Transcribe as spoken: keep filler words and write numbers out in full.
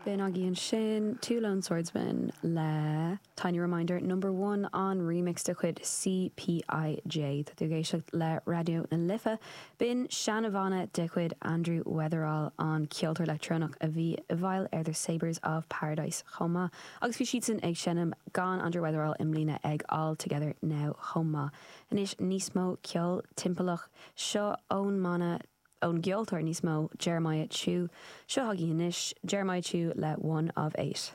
B'in agaibh ansin Two Lone Swordsmen le Tiny Reminder number one an remix de chuid CPIJ Tá tú ag éisteacht le Raidió na Life. B'in seanbhanna de chuid Andrew Weatherall an ceoltóir leictreonach a bhí i bhfeighil ar The Sabres of Paradise chomh maith, agus bhí siadsan ag seinm gan Andrew Weatherall i mbliana ag All Together Now chomh maith. Anois níos mó ceol timpeallach seo ón mbanna ón gceoltóir níos mó Jeremiah Chiu, seo agaibh anois Jeremiah Chiu le one of eight.